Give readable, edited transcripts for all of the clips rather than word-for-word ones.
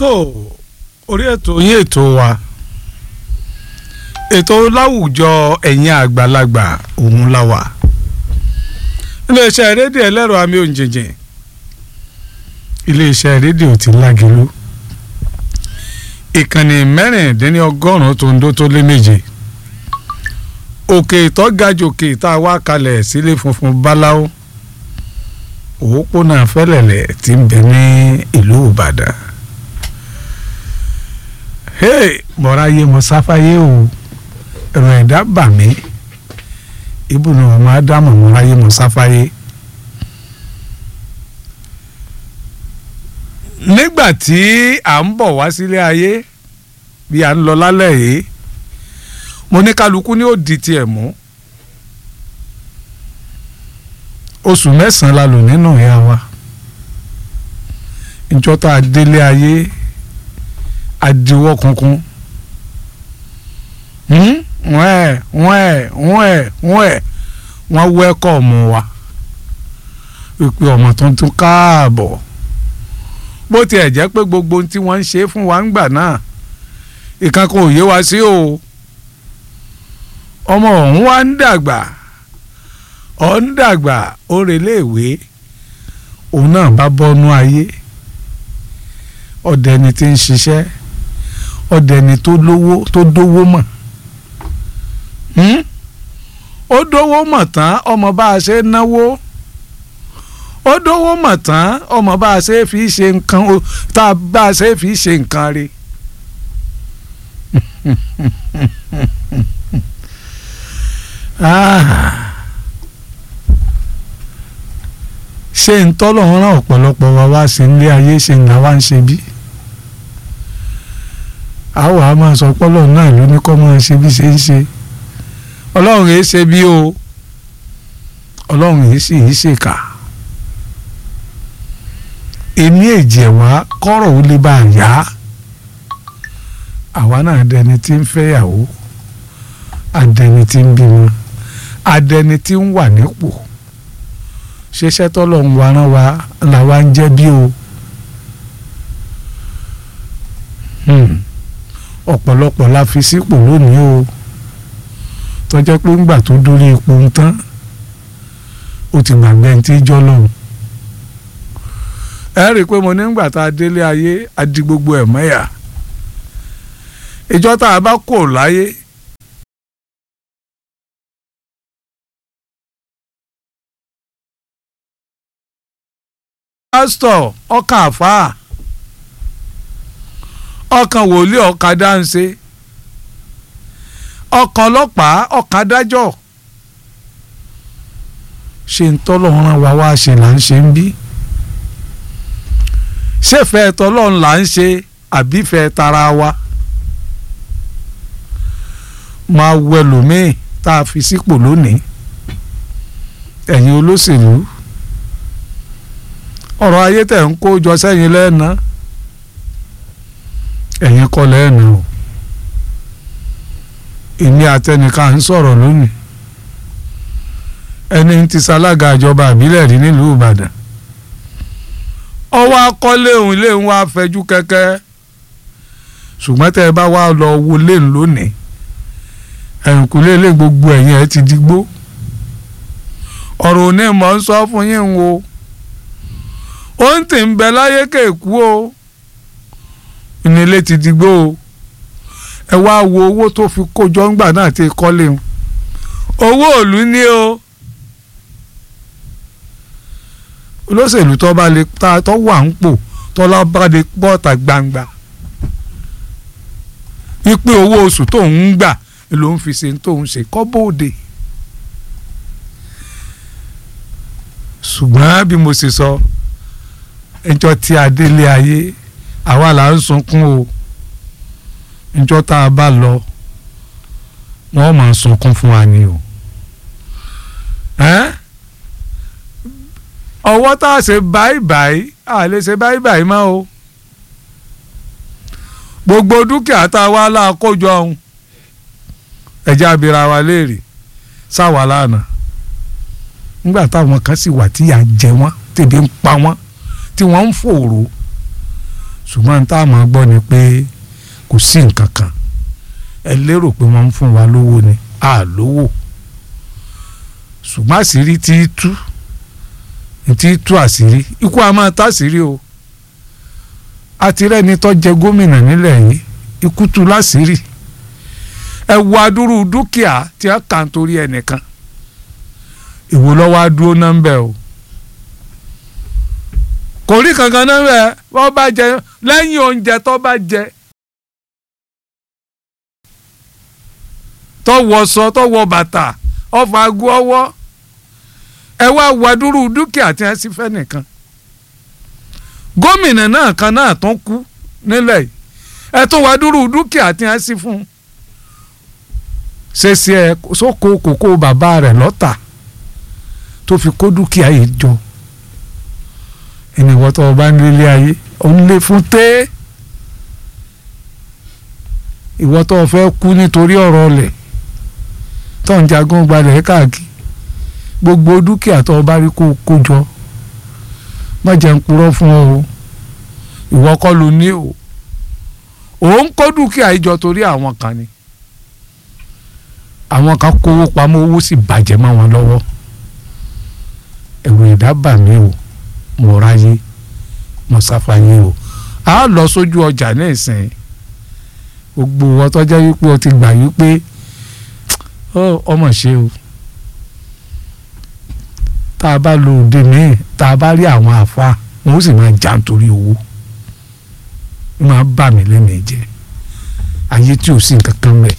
Tó orí ètò yín, ètò wa, ètò láwùjọ ẹ̀yin àgbàlagbà, òun la wà iléeṣẹ́ rédíò ẹlẹ́rọ àmì òǹjìnjìn, iléeṣẹ́ rédíò ti Lágelú, ìkànnì 96 tó ń dó tó lé méje, òkè ìtọ́gajòkè tá a wá kalẹ̀ sílé funfun báláwo, òpópónà Fẹ́lẹ̀lẹ̀ tí ń bẹ ní ìlú Ìbàdàn. Hey, mọ̀ráyé mo sáfáyé o, ẹ̀rọ ẹ̀dá bà mí, ibùdó ọmọ ádámù, mọ̀ráyé mo sáfáyé. Nígbà tí à ń bọ̀ wá sílé ayé, bí à ń lọ lálẹ́ yìí, mo ní kálukú ní ó di tiẹ̀ mú. Oṣù 9 la lò nínú ìyá wa. Ìjọ tá a délé ayé, adiwọ́ kunkun, wọ́n ẹ̀ wọ́n ẹ̀ wọ́n ẹ̀ wọ́n ẹ̀ wọ́n wẹ́kọ̀ mú wa wípé ọmọ tuntun káàbọ̀. Bó tiẹ̀ jẹ́ pé gbogbo ohun tí wọ́n ń ṣe fún wa ń gbà náà, ìkan kò yé wa sí o. Ọmọ ọ̀hún wa ń dàgbà, ọ̀ ń dàgbà, ó relé ìwé, òun náà bá bọ́nú ayé, ọ̀dẹni tí ń ṣiṣẹ́, ọ̀dẹni tó lówó, tó dówó mọ̀, ó dówó mọ̀ tán, ọmọ bá a ṣe náwó, ó dówó mọ̀ tán, ọmọ bá a ṣe fi ṣe nǹkan, tá a bá a ṣe fi ṣe nǹkan rí. Ṣé ń tọ́lọ̀ ń rán ọ̀pọ̀lọpọ̀ wa wá sí ilé ayé, ṣe ń là wá ń ṣe bí? Àwọn a máa sọ pọ́lọ̀ náà ló ní kọ́ máa ṣe bí ṣe ń ṣe. Ọlọ́run yìí ṣe bí o, Ọlọ́run yìí sì yìí ṣèkà. Èmi èjì wá kọ́rọ̀ ó lè bá a yá. Àwa náà dẹni tí ń fẹ́yàwó, adẹni tí ń bímọ, adẹni tí ń wà nípò. Ṣiṣẹ́ tọ́lọ́run wa rán wa làwa ń jẹ́ bí o? Ọ̀pọ̀lọpọ̀ la fi sípò lónìí o, tó jẹ́ pé ńgbà tó dórí ipò ń tán, ó ti gbàgbé ẹni tí jọ́ lọ́hùn. Ẹ rí i pé mo ní ńgbà tá a délé ayé, a di gbogbo ẹ̀ mọ́yà. Ìjọ tá a bá kò láyé, pásítọ̀ ọkàn, àfáà ọkàn, wòlíì ọkàn, dáńṣe ọkàn, ọlọ́pàá ọkàn, adájọ́. Ṣe ń tọ́lọ́run rán wa wá ṣe là ń ṣe ń bí? Ṣèfẹ́ tọ́lọ́run là ń ṣe, àbífẹ́ tara wa? Máa wẹ lòmíì tá a fi sípò lónìí. Ẹ̀yin olóṣèlú, ọ̀rọ̀ ayé tẹ̀ ń kó jọ sẹ́yìn lẹ́ẹ̀ná, ẹ̀yin kọ́ lẹ́ẹ̀ná o. Èmi àtẹnìkan ń sọ̀rọ̀ lónìí, ẹni tí ṣalága ìjọba àbílẹ̀ rí nílùú Ìbàdàn, ọwọ́ akọ́lé òun lé ń wá fẹjú kẹ́kẹ́. Ṣùgbọ́n tẹ́ ẹ bá wá lọ wo léun lónìí, ẹ̀yìnkùlé lé gbogbo ẹ̀yìn ẹ̀ ti digbó. Ọ̀rọ̀ òní mọ̀ ń sọ fún yín o, ó ń tì ń bẹ láyé kéèkú o, ìnílé ti digbó o. Ẹ wá wo owó tó fi kójọ ńgbà náà ti kọ́lé o, owó òlú ní o. Olóṣèlú tó bá lè ta tó wà ń pò, tọ́lá bá lè pọ́ọ̀tà gbangba wípé owó oṣù tó ń gbà ló ń fi ṣe tó ń ṣe kọ́ bóde. Ṣùgbọ́n bí mo ṣe sọ, ẹjọ́ tí a délé ayé, àwa là ń sunkún o. Ẹjọ́ tá a bá lọ, wọ́n máa sunkún fún wa ni o. Ọwọ́ tá a ṣe báyìí báyìí, a lè ṣe báyìí báyìí mọ́ o. Gbogbo dúkìá tá a wá láàkójọ ọ̀hún, ẹ̀jẹ̀ abira wa léèrè sáwà lánàá, nígbà táwọn kan sì wà tí yà ń jẹ wọ́n, tèbi ń pa wọ́n, tí wọ́n ń fòrò. Ṣùgbọ́n tá a máa gbọ́ ni pé kò sí nǹkan kan. Ẹ lérò pé wọ́n ń fún wa lówó ni, a lówó. Ṣùgbọ́n àṣírí tí tú tí tú àṣírí, ikú a máa táṣírí o. Àti rẹ́ni tó jẹ gómìnà nílẹ̀ yìí, ikú tú láṣírí. Ẹ wo adúrú dúkìá tí a kà ń torí ẹnìkan. Ìwò lọ́wọ́ adúró náà ń bẹ̀ o. Kò rí kankan náà bẹ̀, wọ́n bá jẹ lẹ́yìn oúnjẹ tó bá jẹ, tó wọṣọ, tó wọ bàtà, ọfà ago ọwọ́. Ẹ wá wo adúrú dúkìá tí wọ́n sì fẹ́ nìkan. Gómìnà náà kan náà tó kú nílẹ̀ yìí, ẹ tó wá dúró dúkìá tí wọ́n sì fún un. Ṣèṣe ẹ sóko kòkó bàbá rẹ̀ lọ́tà tó fi kó dúkìá yìí jọ. Ẹnìwọ́ tó o bá ń lélẹ̀ ayé, ò ń lé fún té. Ìwọ tó o fẹ́ kú nítorí ọ̀rọ̀ ọ̀lẹ̀ tó ń jagun gbalẹ̀ káàkiri, gbogbo dúkìá tó o bá rí kó kó jọ, má jẹ́ ń purọ́ fún ọ o. Ìwọ kọ́ ló ní o. Ò ń kó dúkìá yìí jọ torí àwọn kan ni. Àwọn kan kówó pamọ́, owó sì bàjẹ́ mọ́ wọn lọ́wọ́. Ẹ̀rù ẹ̀dá bà mí o, mo ráyé, mo sáfàyé o. A lọ sójú ọjà ní ìsìn. Gbogbo wọn tó jẹ́ wípé o ti gbà wípé ọmọ ṣe o. Tá a bá lo òde míì, tá a bá rí àwọn àfa, wọn ó sì máa jà nítorí owó. Ó máa bà mí lẹ́mìí jẹ́. Ayé tí ò sí nǹkan kan mẹ́.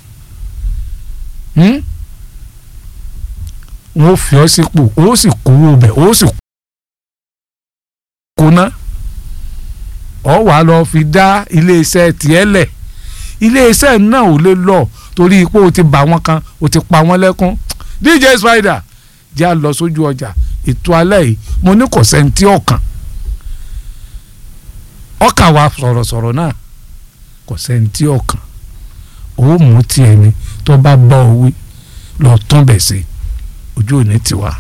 Wọ́n fi ọ́ sípò, ó sì kówó bẹ̀, ó sì kóná. Ọ wàá lọ fi dá iléeṣẹ́ tiẹ̀ lẹ̀. Iléeṣẹ́ náà ò lè lọ torí pé o ti bà wọ́n kan, o ti pa wọ́n lẹ́kún. DJ Spider jẹ́ à lọ sójú ọjà ètò alẹ́ yìí. Mo ní kò sẹ́ńtì ọ̀kan ọkà wa sọ̀rọ̀sọ̀rọ̀ náà, kò sẹ́ńtì ọ̀kan. Ó mú tiẹ̀ ni tó bá bọ́ ọ wí lọ tún bẹ̀ sí, ojú òní tiwa.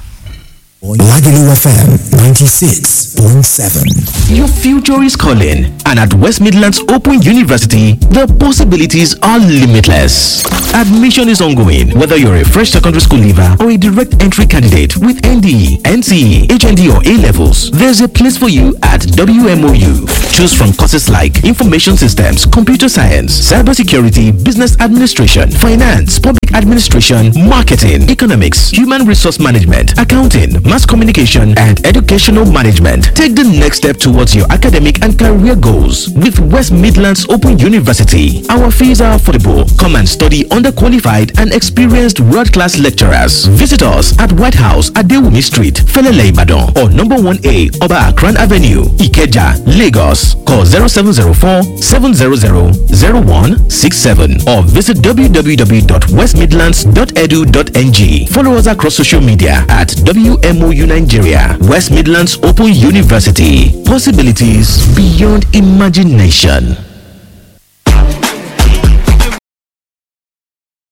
Lagelu FM 96.7. Your future is calling, and at West Midlands Open University, the possibilities are limitless. Admission is ongoing, whether you're a fresh secondary school leaver or a direct entry candidate with NDE, NCE, HND, or A levels. There's a place for you at WMOU. Choose from courses like Information Systems, Computer Science, Cybersecurity, Business Administration, Finance, Public Administration, Marketing, Economics, Human Resource Management, Accounting, Mass Communication, and Educational Management. Take the next step towards your academic and career goals with West Midlands Open University. Our fees are affordable. Come and study under qualified and experienced world-class lecturers. Visit us at White House at Dewumi Street, Felele Ibadan, or number 1A, Oba Akran Avenue, Ikeja, Lagos. Call 0704 700 0167 or visit www.westmidlands.edu.ng. Follow us across social media at WMOU Nigeria, West Midlands Open University. Possibilities beyond imagination.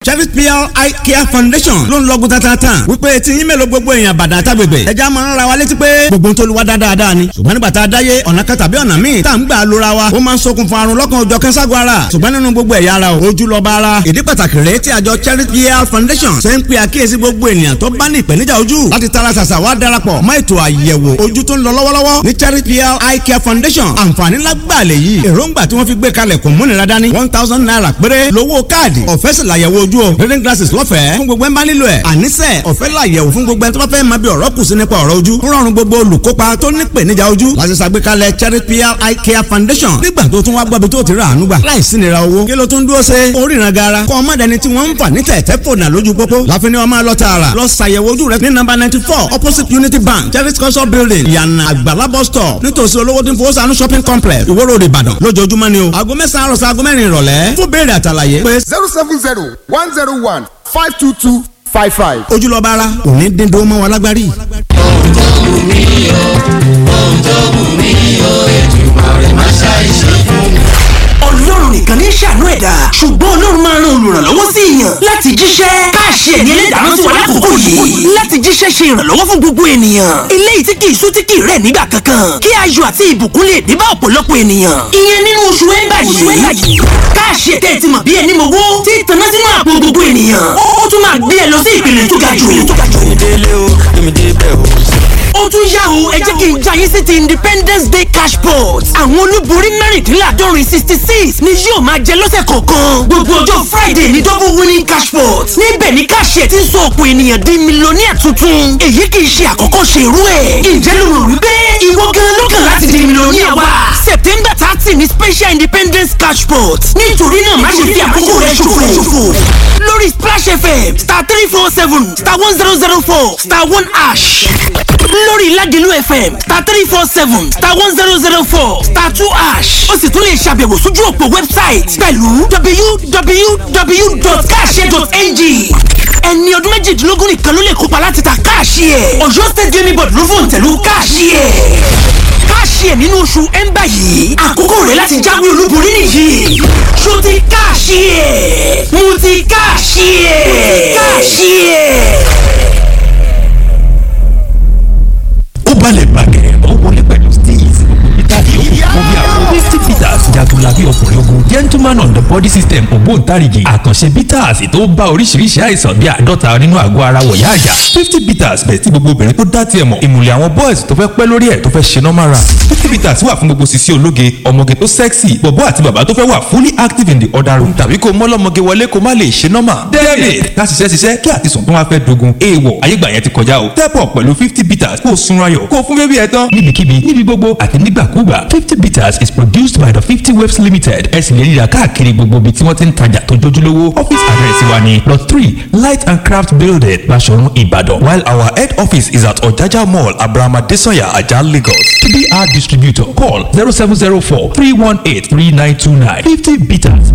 Chevy PR Eye Care Foundation ló ń lọ́gùn tatata wípé tí yín mélòó gbogbo èèyàn bàdà àtàgbègbè ẹja máa ń ra wa létí pé gbogbo ń tolúwa dáadáa ni, ṣùgbọ́n nígbà tá a dáyé ọ̀nà kan tàbí ọ̀nà míì tá à ń gbà lóra wa ó máa ń ṣokùnfà àrùn lọ́kàn òjọ̀ kẹ́sàgọ́ ara. Ṣùgbọ́n nínú gbogbo ẹ̀yà ara o, ojú lọ́ba ara. Ìdí pàtàkì rèé tí àjọ Chevy PR Foundation ṣe ń pe àkíyèsí gbogbo ènìyàn tó bá ní ìpèníjà ojú láti tara ṣàṣà wá darapọ̀ mọ́ ètò àyẹ̀wò ojú tó ń lọ lọ́wọ́lọ́wọ́ ní Chevy PR Eye Care Foundation. Àǹfààní lágbàlẹ̀ yìí, èròǹgbà tí wọ́n fi gbé kalẹ̀ kò múnira dání. ₦1,000 péré lówó káàdì, ọ̀fẹ́ sì làyẹ̀wò ojú o. Reading glasses lọ́fẹ̀ẹ́ fún gbogbo ẹ̀ ń bá nílò ẹ̀. Àníṣe ọ̀fẹ́ làyẹ̀wò fún gbogbo ẹ̀ tó bá fẹ́ máa bí ọ̀rọ̀ kù sí nípa ọ̀rọ̀ ojú. Rọrùn gbogbo olùkópa tó ní ìpèníjà ojú láti ṣàgbékalẹ̀ Cherry PR Eye Care Foundation. Nígbà tó tún wá gbọ́bi tó ti rà àánú gbà láìsí nira owó, kí ló tún dúró ṣe oríran gara kọ́ ọmọdéni tí wọ́n ń fà ní tẹ̀tẹ̀ fònà lójú pópó láfi ni wọ́n máa lọ tààrà lọ ṣàyẹ̀wò ojú rẹ ní nọ́mbà 94 opposite Unity Bank Cherry Culture Building, Ìyànà Àgbàlá bus stop, nítòsí olówó tí ń fowó sànú shopping complex, Ìwó Road, Ìbàdàn. Lójoojúmọ́ ni o, aago 9 àárọ̀ sí aago 4 ìrọ̀lẹ́. Fún béèrè àtàlàyé pé 070 101 522 55. Ojúlọ́ba ara kò ní dín dúró mọ́ wa lágbárí. Ohun tó wù mí o, ohun tó wù mí o, Èdùmàrè má ṣàìṣe fún mi. Ọlọ́run nìkan ní ṣàánú ẹ̀dá, ṣùgbọ́n Ọlọ́run máa ń ran olùrànlọ́wọ́ sí èèyàn láti jíṣẹ́. Káàṣì ẹ̀mí ẹlẹ́dàá sí wa lákòókò yìí láti jíṣẹ́ ṣe ìrànlọ́wọ́ fún gbogbo ènìyàn. Eléyìí tí kì í sú tí kì í rẹ̀ nígbà kankan, kí ayọ̀ àti ìbùkún lè dé bá ọ̀pọ̀lọpọ̀ ènìyàn. Ìyẹn nínú Oṣù ẹ̀ńbà yìí, káàṣì ẹ̀tẹ́ ẹ̀ ti mọ̀ bí ẹni mọ̀wó tí tanná sínú àpò gbogbo ènìyàn. Ó tún máa gbé ẹ lọ sí ìpele tó ga jù. Délé o, èmi débẹ̀ o. Ó tún yá o, ẹ jẹ́ kí n já yín sí ti Independence Day cash pot. Àwọn olúborí 66 mẹ́rìndínláàdọ́rin ni yóò máa jẹ lọ́sẹ̀ kọ̀ọ̀kan. Gbogbo ọjọ́ Friday ní double winning cash pot. Níbẹ̀ ni káàṣì ẹ̀ ti ń sọ ọ̀pọ̀ ènìyàn di mílíọ̀nìyà tuntun. Èyí kì í ṣe àkọ́kọ́ ṣe irú ẹ̀. Ǹjẹ́ ló rò wípé ìwọ gan lọ́kàn láti di mílíọ̀nìyà wa? September 30 ní special Independence cash pot. Nítorí náà, má ṣe fi àkókò rẹ ṣòfò. Lórí Splash FM *347*1004*1# lórí Ládìlú FM *347*1004*2#. Ó sì tún lè ṣàbẹ̀wò sójú òpó website pẹ̀lú www.cash.ng. Ẹni ọdún 18 nìkan ló lè kópa láti ta káàṣì ẹ̀. Ọ̀yọ́ State Gaming Board ló fòun tẹ̀lú káàṣì ẹ̀. Káàṣì ẹ̀ nínú oṣù ẹ̀ńbà yìí, àkókò rẹ̀ láti jáwé olúborí nìyí. Ṣó ti káàṣì ẹ̀? Mo ti káàṣì ẹ̀. Káàṣì ẹ̀. Ó balẹ̀ bàgẹ́, ó wọlé pẹ̀lú steez. Peter yòókù fún bí àwọn 50 bitters, jagunlabi ọkùnrin ogun, gentleman on the body system, ògbóǹtarìgì àkànṣe bitters tó bá oríṣiríṣi àìsàn bí 50 nínú àgọ́ ara wọ̀yá àjà. 50 bitters bẹ̀ tí gbogbo obìnrin tó dá tiẹ̀ mọ̀, ìmùlẹ̀ àwọn boys tó fẹ́ pẹ́ lórí ẹ̀ tó fẹ́ ṣe normal run. 50 bitters wà fún gbogbo sisi ológe, ọmọge tó sexy, bọ̀bọ́ àti bàbá tó fẹ́ wà fully active in the other room, tàbí kó mọ́lọ́mọge wọlé kó má lè ṣe normal. David ká ṣiṣẹ́ ṣiṣẹ́ kí àti sùn tó wá fẹ́ dogun. Èèwọ̀ ayégbà yẹn ti kọjá o. Step up pẹ̀lú 50 bitters, kó o sunra yọ̀, kó o fún bébí ẹ tán. Níbikíbi, níbi gbogbo àti nígbàkúgbà, 50 bitters is produced by the 50 Waves Limited. Ẹ sì lè ríra káàkiri gbogbo ibi tí wọ́n ti ń tajà tó jójúlówó. Office address wa ni Plot 3, Light and Craft Building, Basọ̀run, Ìbàdàn. While our head office is at Ojaja Mall, Abraham Adesanya, Ajah, Lagos. To be our distributor, call 0704 318 3929. 50 bitters.